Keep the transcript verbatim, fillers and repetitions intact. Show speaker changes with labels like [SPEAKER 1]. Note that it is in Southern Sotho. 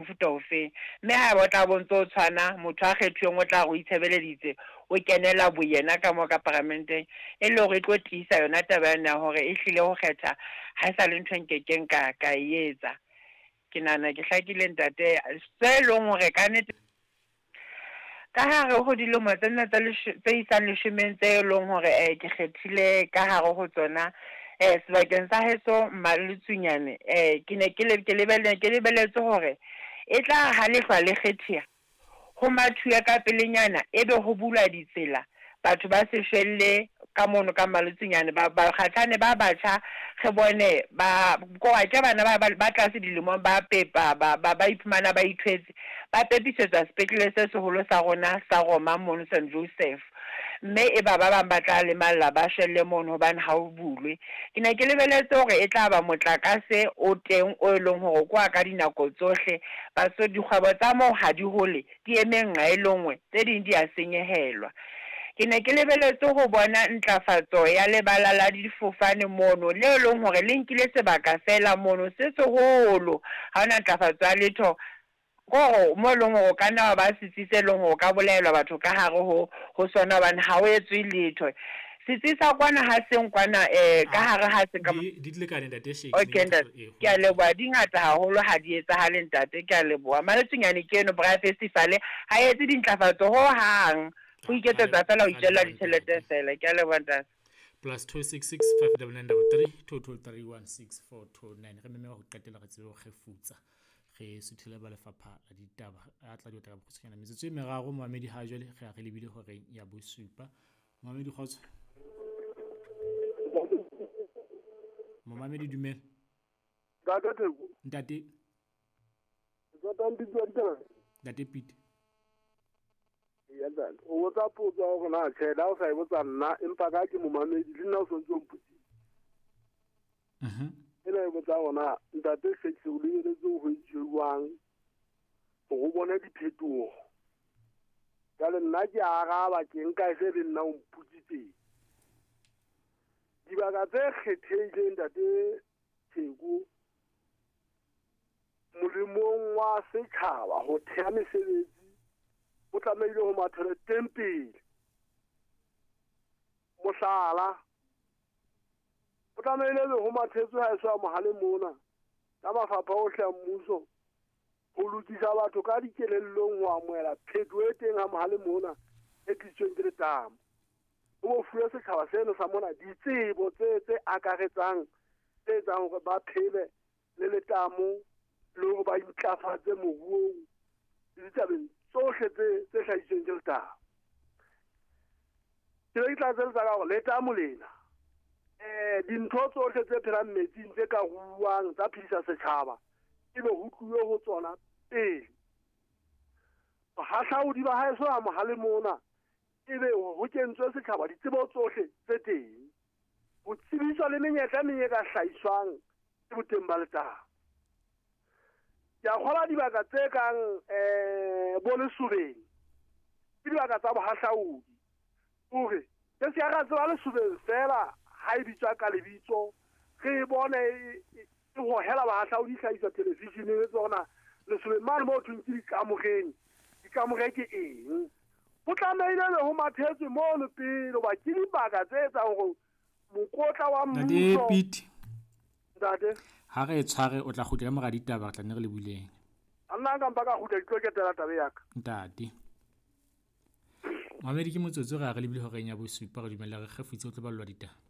[SPEAKER 1] Mofuta ofeng, mme haeba o tla bo ntso tshwana, motho a kgethuweng o tla re o itshebeleditse, o kenela boyena ka moo ka paramenteng, e le hore e tlo tiisa yona taba yane ya hore e hlile ho kgetha ha e sa le ntho e nkekeng ka ka e etsa. Ke nahana ke hlakile ntate, se leng hore ka nnete ka hare ho dilemo tsena tse tse isang leshomeng tse leng hore eh ke kgethile ka hare ho tsona, eh sebakeng sa heso Mmaletsunyane, eh ke ne ke le ke lebelle ke lebelletse hore e tla ha lehlwa le kgethiya ho mathuwe ka pelenyana, ebe ho bulwa ditsela, batho ba se shwelle ka mono ka Mmaletsunyane, ba bakgatshane ba batjha re bone ba ko ke bana ba ba tlase dilemong ba pepa ba ba ba iphumana ba ithwetse, ba pepisetswa sepetlele se seholo sa rona sa Roma mono Saint Joseph, mme e ba ba bang ba tla lemalla ba shwelle mono hobane ha o bulwe. Ke ne ke lebelletse hore e tla ba motlakase o teng o e leng hore kwa ka dinako tsohle, baso dikgwebo tsa moo ha di hole, di eme nqa e le nngwe, tse ding di a senyehelwa. Ke ne ke lebelletse ho bona ntlafatso ya lebala la difofane mono, le leng hore le nkile sebaka fela mono se seholo, ha hona ntlafatso ya letho. Kore mo eleng hore o ka nna wa ba setsi se leng hore o ka bolaelwa batho ka hare ho ho sona hobane ha o etswe letho. Setsi sa kwana ha seng kwana eh ka hare ha se ka
[SPEAKER 2] Di di lekane ntate Shakes.
[SPEAKER 1] Okay ntate, ke a leboha, di ngata haholo ha di etsahale ntate, ke a leboha. Maletsunyane ke eno Braai Festival ha etse dintlafatso ho hang, ho iketsetsa fela ho itjella ditjhelete fela. Ke a leboha ntate.
[SPEAKER 2] Plus two six six five double nine double three two two three one six four two nine. Re meme ho qetela re tsebe ho kgefutsa, re suthele ba lefapha la ditaba a tla di otla ka bokgutshwanyane. Metsotso e meraro momamedi ha jwale re a re lebile horeng ya bosupa. Momamedi kgotso. Momamedi dumela.
[SPEAKER 3] Ntate Theko.
[SPEAKER 2] Ntate.
[SPEAKER 3] Ntate Mpitsi wa ditaba.
[SPEAKER 2] Ntate Pete.
[SPEAKER 3] Ya ntate. O botsa potso ya hore na tjhe la o sa e botsa nna empa ka ke momamedi le nna o sontse o mpotsitse.
[SPEAKER 2] Mhm.
[SPEAKER 3] Ena e botsa hore na ntate Shakes o lebeletse ho jwang hore o bone diphetoho. Jwale nna ke araba ke nka e se le nna o mpotsitseng. Dibaka tse kgethehileng ntate Theko molemong wa setjhaba ho theha mesebetsi o tlamehile ho mathela teng pele. Mohlala, o tlamehile be ho mathetswe ha e so mohale mona ka mafapha ohle a mmuso ho lokisa batho ka dikelellong ho amohela phetoho e teng ha mohale mona e tlisitsweng ke letamo. Ho bo fuwe setjhaba seno sa mona ditsebo tse tse akaretsang tse etsang hore ba phele le letamo le hore ba intlafatse moruong le ditabeng tsohle tse tse hlahisitsweng ke letamo. Ke be ke tla tseletsa ka hore letamo lena eh dintho tsohle tse phelang metsing tse ka ruuwang tsa phedisa setjhaba ebe ho tluwe ho tsona pele. Bohahlaudi ba haeso ha mohale mona ebe ho kentswe setjhaba ditsebo tsohle tse teng, ho tsebiswa le menyetla e meng e ka hlahiswang ke boteng ba letamo. Ke a kgolwa dibaka tse kang eh bo Lesobeng ke dibaka tsa bohahlaudi, hore re se ka ra tseba Lesobeng fela ha e bitswa ka lebitso, re bone e hohela bahahlaudi hlahiswa television-eng e tsona Lesobeng mane moo thweng ke dikamoreng, dikamore ke eng? Ho tlamehile be ho mathetswe mono pele hoba ke dibaka tse etsang hore mokotla wa
[SPEAKER 2] Ntate
[SPEAKER 3] mmuso.
[SPEAKER 2] Pete.
[SPEAKER 3] Ntate.
[SPEAKER 2] Ha re e tshware o tla kgutla ka mora ditaba re tla nne re le buleng.
[SPEAKER 3] A nna nka mpa ka kgutla ke tlo ketela taba ya ka.
[SPEAKER 2] Ntate. Mamedi ke motsotso re a re lebile horeng ya bosupa re dumella re kgefutse o tlo ballwa ditaba.